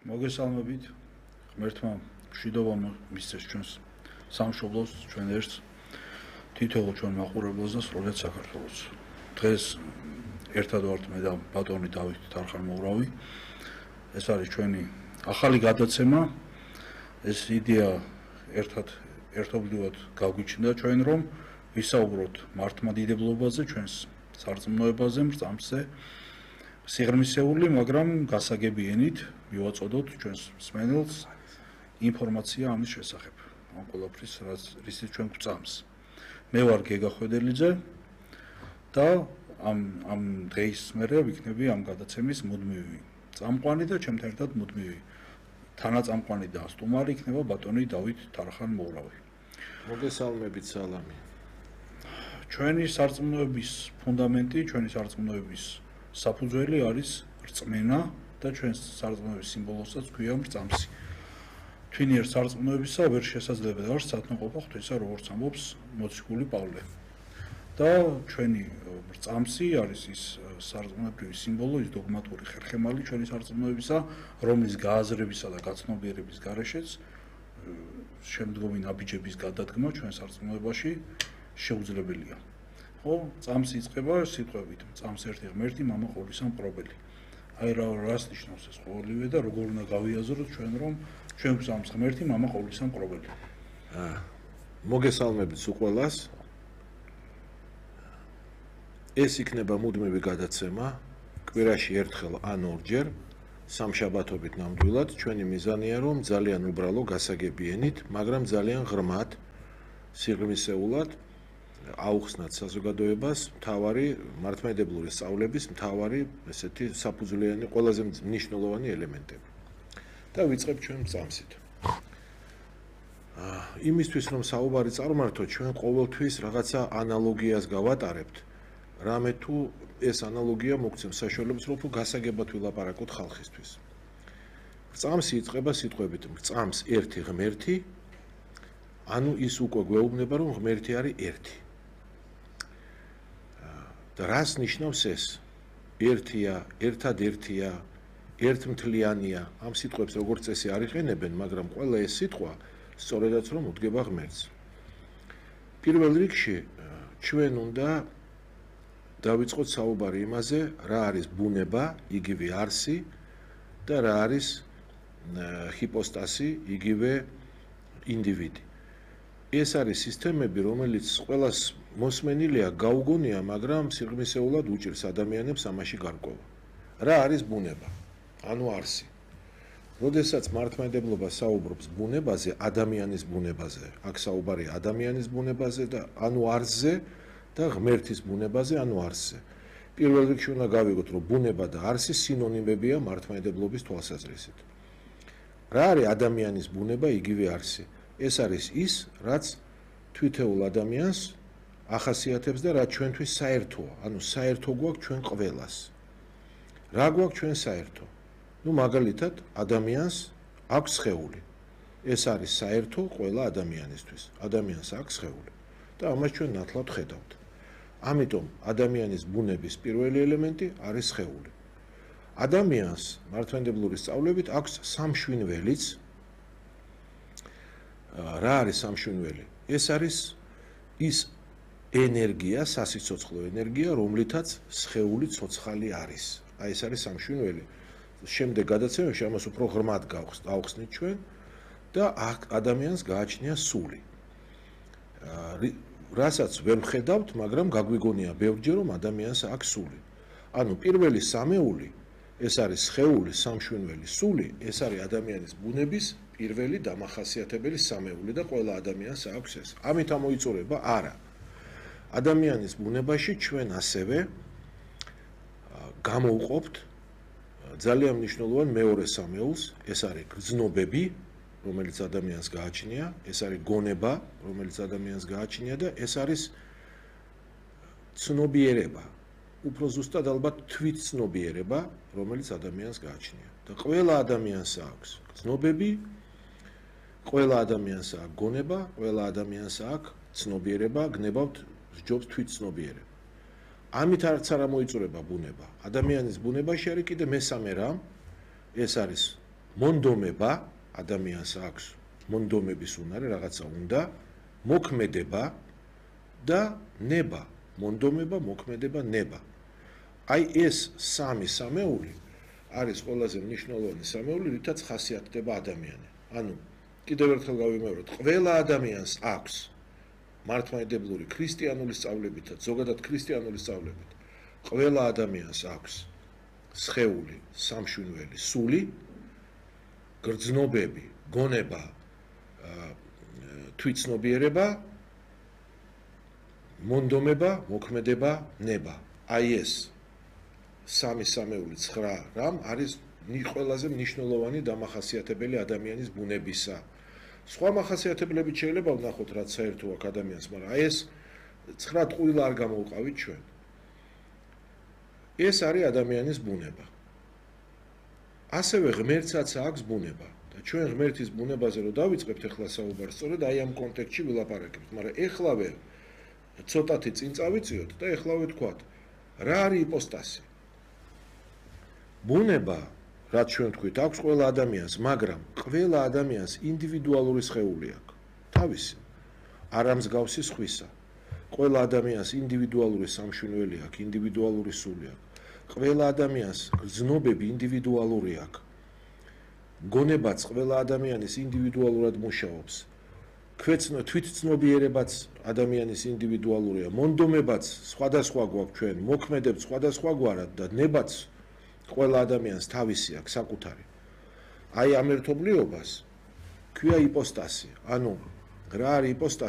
მოგესალმებით. ღმერთმა მშვიდობა მისცეს ჩვენს სამშობლოს, ჩვენ ერთს, თითოეულ ჩვენ მაყურებელს და სრულიად საქართველოს. დღეს ერთად ვართ მე და ბატონი დავით თარხან-მოურავი. ეს არის ჩვენი ახალი გადაცემა. ეს იდეა ერთობლივად გავგვიჩნდა ჩვენ, რომ ვისაუბროთ მართლმადიდებლობაზე, ჩვენს სარწმუნოებაზე, მრწამსზე. სიღრმისეული, მაგრამ გასაგები ენით მივაწოდოთ ჩვენს მსმენელს ინფორმაცია ამის შესახებ. ამ ყველაფრის რისიც ჩვენ გვწამს. მე ვარ გეგა ხვედელიძე და ამ დღის მერე ვიქნები ამ გადაცემის მუდმივი წამყვანი და ჩემთან ერთად მუდმივი თანაწამყვანი და სტუმარი იქნება ბატონი დავით თარხან-მოურავი. მოგესალმებით, სალამი. ჩვენი სარწმუნოების ფუნდამენტი, ჩვენი სარწმუნოების საფუძველი არის რწმენა და ჩვენს სარწმუნოების სიმბოლოსაც ქვია მრწამსი. თვინიერ სარწმუნოებისა ვერ შესაძლებელი არ სათნოყოფა ღვთისა, როგორც ამბობს მოციქული პავლე. და ჩვენი მრწამსი არის ის სარწმუნოებრივი სიმბოლო, ის დოგმატური ხერხემალი ჩვენი სარწმუნოებისა, რომლის გააზრებისა და გაცნობიერების გარეშეც შემდგომი ნაბიჯების გადადგმა ჩვენ სარწმუნოებაში შეუძლებელია. ხო, წამსი იწყება სიტყვებით, წამს ერთი ღმერთი, მამა ყოვლისა მპყრობელი. აი რას ნიშნავს ეს ყოველივე და როგორ უნდა გავიაზროთ ჩვენ, რომ ჩვენ გვწამს ღმერთი, მამა ყოვლისა მპყრობელი. მოგესალმებით უყველას. ეს იქნება მუდმივი გადაცემა, კვირაში ერთხელ ან ორჯერ, სამშაბათობით ნამდვილად. ჩვენი მიზანია, რომ ძალიან უბრალო გასაგები ენით, მაგრამ ძალიან ღრმად, სიღრმისეულად აუხსნათ საზოგადოებას მთავარი მართლმადიდებლური სწავლების მთავარი ესეთი საფუძვლიანი ყველაზე მნიშვნელოვანი ელემენტები. და ვიწყებ ჩვენ წამსით. იმისთვის რომ საუბარი წარმართოთ, ჩვენ ყოველთვის რაღაცა ანალოგიას გავატარებთ. რამე თუ ეს ანალოგია მოგცემს საშუალებას, რომ გასაგებად ვილაპარაკოთ ხალხისთვის. წამსი იწყება სიტყვებით: წამს ერთი ღმერთი, ანუ ის უკვე გვეუბნება, რომ ღმერთი არის ერთი. და რას ნიშნავს ეს? ერთია, ერთადერთია, ერთმთლიანია. ამ სიტყვებს როგორც წესი არ იყენებენ, მაგრამ ყველა ეს სიტყვა სწორედაც რომ უდგება ღმერთს. პირველ რიგში ჩვენ უნდა დავიწყოთ საუბარი იმაზე, რა არის ბუნება, იგივე არსი და რა არის ჰიპოსტასი, იგივე ინდივიდი. ეს არის სისტემები, რომელიც ყველას მოსმენილია, გაუგონია, მაგრამ სიღრმისეულად უჭირს ადამიანებს ამაში გარკვევა. რა არის ბუნება? ანუ არსი. როდესაც მართლმადიდებლობა საუბრობს ბუნებაზე, ადამიანის ბუნებაზე, აქ საუბარია ადამიანის ბუნებაზე და ანუ არსზე და ღმერთის ბუნებაზე, ანუ არსზე. პირველ რიგში უნდა გავიგოთ, რომ ბუნება და არსი სინონიმებია მართლმადიდებლობის თვალსაზრისით. რა არის ადამიანის ბუნება, იგივე არსი? ეს არის ის, რაც თვითეულ ადამიანს ახასიათებს და რაც ჩვენთვის საერთოა, ანუ საერთო გვაქვს ჩვენ ყველას. რა გვაქვს ჩვენ საერთო? მაგალითად, ადამიანს აქვს სხეული. ეს არის საერთო ყველა ადამიანისთვის. ადამიანს აქვს სხეული და ამას ჩვენ ნათლად ხედავთ. ამიტომ ადამიანის ბუნების პირველი ელემენტი არის სხეული. ადამიანს მართლმადიდებლური სწავლებით აქვს სამშვინველიც. რა არის სამშვინველი? ეს არის ის ენერგია, სასიცოცხლო ენერგია, რომლითაც სხეული ცოცხალი არის. აი ეს არის სამშვინველი. შემდეგ გადაცემებში ამას უფრო ღრმად გავხსნით ჩვენ და ადამიანს გააჩნია სული. რასაც ვერ ვხედავთ, მაგრამ გაგვიგონია ბევრჯერ, რომ ადამიანს აქვს სული. ანუ პირველი სამეული, ეს არის სხეული, სამშვინველი, სული, ეს არის ადამიანის ბუნების პირველი დამახასიათებელი სამეული და ყველა ადამიანს აქვს ეს. ამით ამოიწურება? არა. ადამიანის ბუნებაში ჩვენ ასევე გამოვყოფთ ძალიან მნიშვნელოვან მეორე სამეულს, ეს არის გრძნობები, რომელიც ადამიანს გააჩნია, ეს არის გონება, რომელიც ადამიანს გააჩნია და ეს არის ცნობიერება. უფრო ზუსტად ალბათ თვითცნობიერება, რომელიც ადამიანს გააჩნია. და ყველა ადამიანს აქვს გრძნობები, ყველა ადამიანს აქვს გონება, ყველა ადამიანს აქვს ცნობიერება, გნებავთ სჯობს თვითცნობიერება. ამით არც არ მოიწურება ბუნება. ადამიანის ბუნებაში არის კიდე მესამე რამ, ეს არის მონდომება ადამიანს აქვს მონდომების უნარი, რაღაცა უნდა, მოქმედება და ნება. მონდომება, მოქმედება, ნება. აი ეს სამი სამეული არის ყველაზე მნიშვნელოვანი სამეული, რითაც ხასიათდება ადამიანი. ანუ კიდევ ერთხელ გავიმეორებ, ყველა ადამიანს აქვს მართლმადიდებლური ქრისტიანული სწავლებითაც, ზოგადად ქრისტიანული სწავლებით, ყველა ადამიანს აქვს სხეული, სამშვინველი, სული, გრძნობები, გონება, თვითცნობიერება, მონდომება, მოქმედება, ნება. აი ეს სამი სამეული 9 რამ არის ყველაზე მნიშვნელოვანი დამახასიათებელი ადამიანის ბუნებისა. სხვა მახასიათებლებით შეიძლება ვნახოთ, რაც საერთო აქვს ადამიანს, მაგრამ აი ეს 9 ტყუილა არ გამოვყავით ჩვენ. ეს არის ადამიანის ბუნება. ასევე ღმერთსაც აქვს ბუნება და ჩვენ ღმერთის ბუნებაზე რო დავიწყებთ ახლა საუბარს, სწორედ აი ამ კონტექსტში ვილაპარაკებთ, მაგრამ ეხლავე ცოტათი წინ წავიწიოთ და ეხლავე თქვათ, რა არის იპოსტასი? ბუნება, რაც ჩვენ თქვით, აქვს ყველა ადამიანს, მაგრამ ყველა ადამიანს ინდივიდუალური სხეული აქვს. თავისი, არა მსგავსი სხვისა. ყველა ადამიანს ინდივიდუალური სამშვინველი აქვს, ინდივიდუალური სული აქვს. ყველა ადამიანს გრძნობები ინდივიდუალური აქვს. გონებაც ყველა ადამიანის ინდივიდუალურად მუშაობს. თვითცნობიერებაც ადამიანის ინდივიდუალურია. მონდომებაც სხვადასხვა გვაქვს ჩვენ, მოქმედებს სხვადასხვაგვარად და nebats ყველა ადამიანს თავისი აქვს საკუთარი. აი ამ ერთობლიობას ქვია იპოსტასი. ანუ რა არის იპოსტასი?